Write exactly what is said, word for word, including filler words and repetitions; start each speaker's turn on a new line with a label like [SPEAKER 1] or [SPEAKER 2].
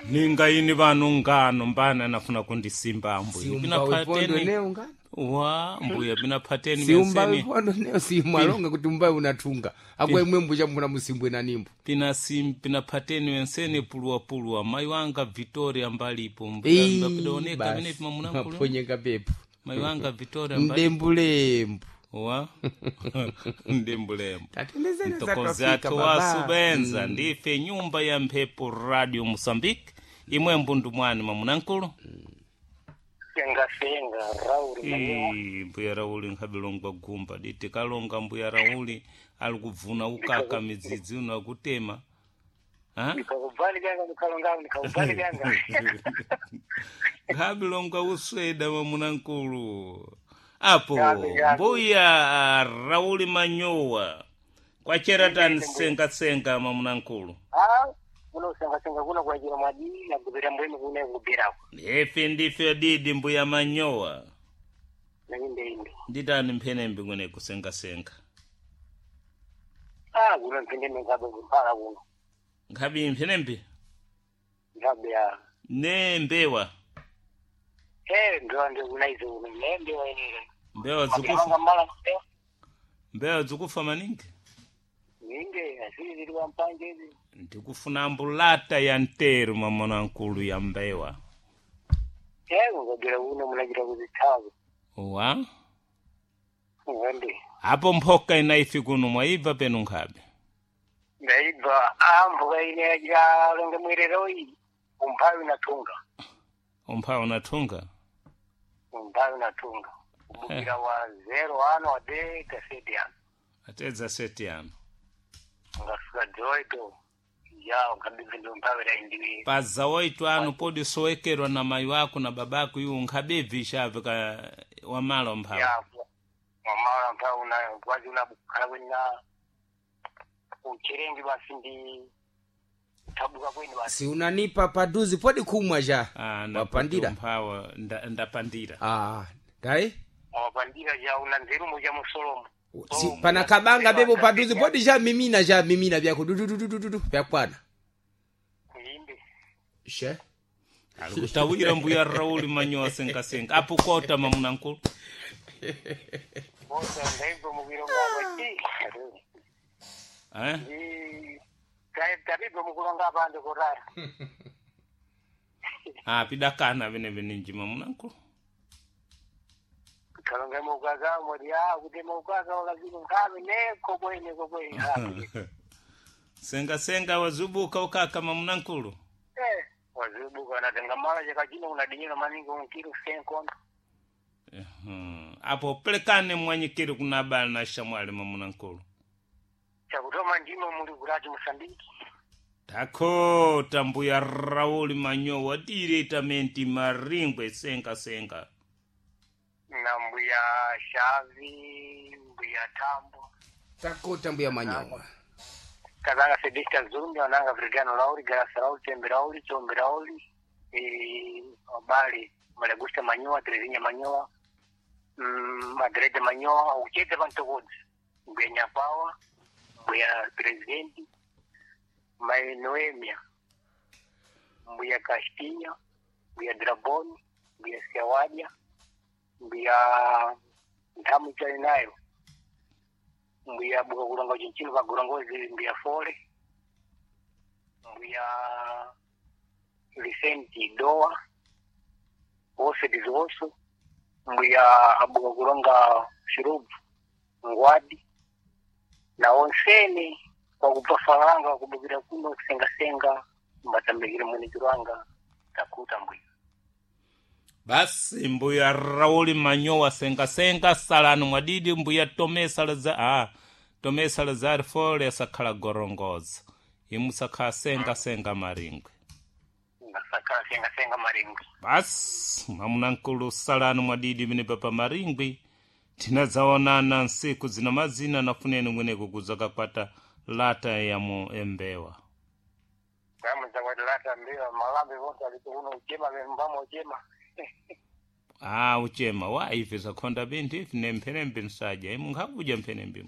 [SPEAKER 1] Ninga ini vanu ngano mbana nafuna kundisimba mbuya
[SPEAKER 2] Siumba wepondo neo ngano
[SPEAKER 1] wa mbuya pinaphateni
[SPEAKER 2] siumba
[SPEAKER 1] menseni
[SPEAKER 2] wepondo neo simwalonga kuti umbawe unatunga akwe mwembu chamuna musimbwe na nimbo
[SPEAKER 1] pina sim pinaphateni wenseni puluwapuluwa mayi wanga Victoria mbalipo mbuya
[SPEAKER 2] Ii,
[SPEAKER 1] mbapidaoneka
[SPEAKER 2] basi,
[SPEAKER 1] pamene mamunankhulu
[SPEAKER 2] maponyenga pepo
[SPEAKER 1] mayi wanga Victoria mbalipo
[SPEAKER 2] mdembulembu
[SPEAKER 1] wa ndembulembo
[SPEAKER 2] tatendezeni
[SPEAKER 1] mtokozi athu wasubenza ndife nyumba ya mphepo Radio Moçambique imwe mbundu mwani mamunankulu
[SPEAKER 3] Senga senga Rauli Manyowa.
[SPEAKER 1] Ii, mbuya Rauli nkhabilongwa gumba diti kalonga mbuya Rauli ali kubvuna ukaka midzidzi uno akutema. Ha?
[SPEAKER 3] Ndikakubvani vyanga ndikalonga ndikakubvani vyanga.
[SPEAKER 1] Nkhabilongwa usweda mamunankulu apo
[SPEAKER 3] Yabe, yabe.
[SPEAKER 1] mbuya Rauli Manyowa kwacheratani sengasenga mamunankulu.
[SPEAKER 3] Ah, kuno senga senga kuno kwajira mwadini na kubira mbwenu kuno kubirako.
[SPEAKER 1] Ife ndife didi mbuya Manyowa.
[SPEAKER 3] Nainde inde.
[SPEAKER 1] Nditani mphenembe kwene kusengasenga.
[SPEAKER 3] Ah, kuno mpinde ngabe kumpala kuno.
[SPEAKER 1] Nkhabi mphenembe
[SPEAKER 3] Ngabe ya.
[SPEAKER 1] ne mbewa.
[SPEAKER 3] Eh, ndo ndo kuna izo kuno nembe wainire.
[SPEAKER 1] Mbewa zikufa
[SPEAKER 3] Mapanga mala
[SPEAKER 1] mbewa zikufa maningi.
[SPEAKER 3] Ninde asili zili wa mpanje hizi.
[SPEAKER 1] Ndikufuna mbulata ya nteru mamunankulu ya mbewa.
[SPEAKER 3] Eh, ngobira kuno munajira kuzithawa.
[SPEAKER 1] Wa
[SPEAKER 3] Ngende.
[SPEAKER 1] apo mphoka inaifi kuno mwaibva penu nkhabe.
[SPEAKER 3] Ndaibva ah mbuka ine ya longe mwirero iyi. Umphawi unatunga.
[SPEAKER 1] Umphawi unathunga.
[SPEAKER 3] Umphawi unatunga. Ubukira wa zero ano wa de kaseti ano.
[SPEAKER 1] Atedza seti ano.
[SPEAKER 3] Ungafika dzoito. Ya ukabibva ndo umphawi la indiwi.
[SPEAKER 1] Paza oito ano podi sowekerwa na mayi wako na babako iwo nkhabebvi chave ka wamala umphawi.
[SPEAKER 3] Ya wamala umphawi una kwazi unabukhala kwena uchirengi basi ndi tabuka kwenu basi.
[SPEAKER 2] si unanipa paduzi podi kumwa ja
[SPEAKER 1] Ah, napoti
[SPEAKER 2] wapandira
[SPEAKER 1] umphawa nda- ndapandira.
[SPEAKER 2] ah dai
[SPEAKER 3] Wapandira ja una nzeru muja musolomo.
[SPEAKER 2] si, pana kabanga bebo paduzi podi ja mimina ja mimina vyako dudududududu vyakwana
[SPEAKER 3] Kuimbe.
[SPEAKER 2] she
[SPEAKER 1] Alikutawira mbuya Rauli Manyowa sengasenga apo kota mamunankulu.
[SPEAKER 3] Bose ndaibva mukiro ngapa chi.
[SPEAKER 1] Eh?
[SPEAKER 3] Tabibva mukulonga pande kotara.
[SPEAKER 1] Ah, pidakana vene veninji mamunankulu.
[SPEAKER 3] Kalonga mukaza mori ya kuti mukaza wakazini nkhabe neko kwene kokwene nkhabe.
[SPEAKER 1] Senga senga wazubuka ukaka mamunankulu.
[SPEAKER 3] Eh, wazibuka natenga mala chakachino unadinyira maningi unkiru senkondo.
[SPEAKER 1] Mhm. Apo pelekane mwanyikiri kuna bala na shamwali mamunankulu.
[SPEAKER 3] Chakutoma ndimo muli kurachi Mosambiki.
[SPEAKER 1] Takota mbuya Rauli Manyowa diretamenti maringwe senga senga.
[SPEAKER 3] Na mbuya Shavi, mbuya Tambo.
[SPEAKER 2] takota mbuya Manyowa
[SPEAKER 3] Kazanga Sebista Zumbi, wananga Vrigano Lauri, Garasa Lauri, Tembe Lauri, Chombe Lauri, eh, Obali, Malagusta Manyowa, Terezinha Manyowa, mm, Madrede Manyowa, uchete pantokodzi. Mbuya Nyapawa, mbuya Presidenti, Mai Noemia, mbuya Castinha, mbuya Draboni, mbuya Siawadia, mbuya Nthamu Chainayo, mbuya buka kulonga chinchino pagorongozi mbuya Fole, mbuya Vicente Doa, wose dizoso, mbuya abuka kulonga Shirubu Ngwadi na onsene kwakupa falanga wakubukira kuno kusengasenga mbatambikire mwenikiro wanga takuta mbuya.
[SPEAKER 1] Basi mbuya Rauli Manyowa senga senga salani mwadidi mbuya Tome Salazar ah, Tome Salazar fole sakhala gorongoza. Imusakhala senga senga maringwe.
[SPEAKER 3] Ngasakhala sengasenga maringwi.
[SPEAKER 1] Basi mamunankulu salani mwadidi mene papa maringwi tinadzaonana nsiku zina mazina nafuneni mweneko kuzakakwata lata ya mu embewa.
[SPEAKER 3] Kamudzakwati mbewa malambe vonse alipo kuno uchema mbamo uchema.
[SPEAKER 1] Ah, uchema wa ife zakhonda binthu ife ne mphenembe nsadya imu nkhakuja mphenembe.